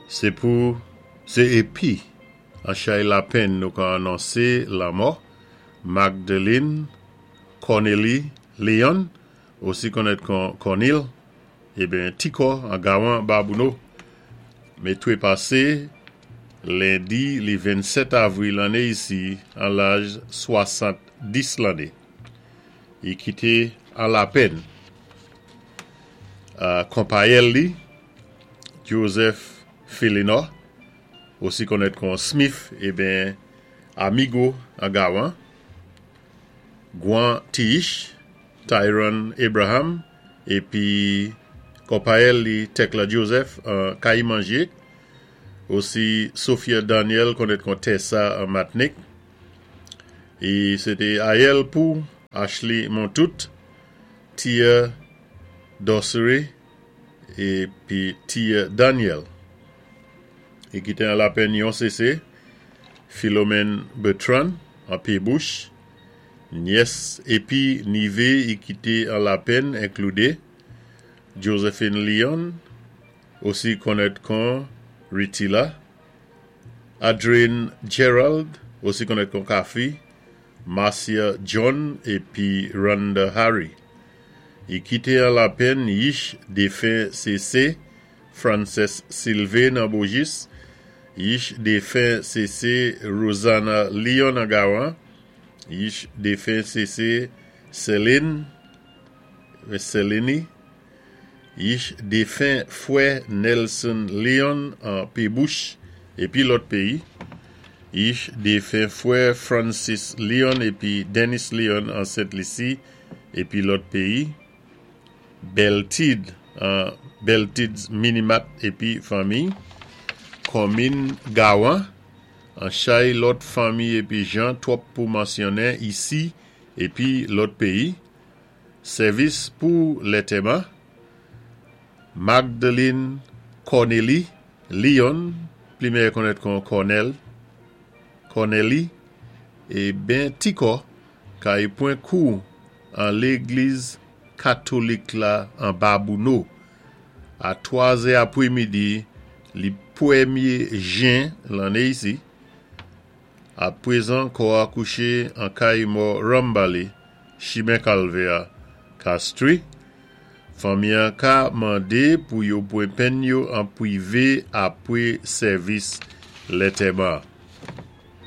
Sé pou sé épi an chay lapenn nou ka anonsé lanmò Magdeline Cornelie Leon, osi konnèt kon Kònil, eben Tikò an Gawan Babouno, mé twépasé lendi li 27 avril lanné isi an laj 70 lanné. I kité an lapenn konpayèl li Joseph Philinor, osi konnèt kon Smith, eben Amigo an Gawan, Gwan Tiish, Tyron Abraham, épi konpayèl li Tekla Joseph an Kayimanje, osi Sophia Daniel konnèt kon Tessa an Matnik, é sé té ayèl pou Ashley Montout, Tia Dorcery épi Tia Daniel. I kité an lapenn yon sésé, Philomène Bertrand an Pébouch, nyès épi nivé i kité an lapenn enkloudé Josephine Leon, osi konnèt kon Ritila, Adrine Gerald, osi konnèt kon Kafi, Marcia John épi Rhonda Harry. I kité an lapenn yich défen sésé Frances Sylvain nan Bojis, yich défen sésé Rosanna Leon nan Gawan, yich défen sésé Céline Céline, yich défen fwè Nelson Leon an Pébouch épi lòt péyi, yich défen fwè Francis Leon épi Dennis Leon an Sent Lisi épi lòt péyi, Beltid an Beltid's Minimat épi fanmi, konminn Gawan, an chay lòt fanmi épi jan twòp pou mansyonnen isi épi lòt péyi, sèvis pou lantèman, Magdeline Cornelie Leon, pli mèyè konnèt kon Cornel, Cornelie, é ben Tikò kay pwan kou an légliz katolik la an Babouno a 3 zè apwémidi li pwémyé jen lanné isi. A pwézan kò a kouché an kay mò Rambali, chimen Kalvé a, Castries. Fanmi-an ka mandé pou yo pwan penn yo an pwivé apwé sèvis lantèman.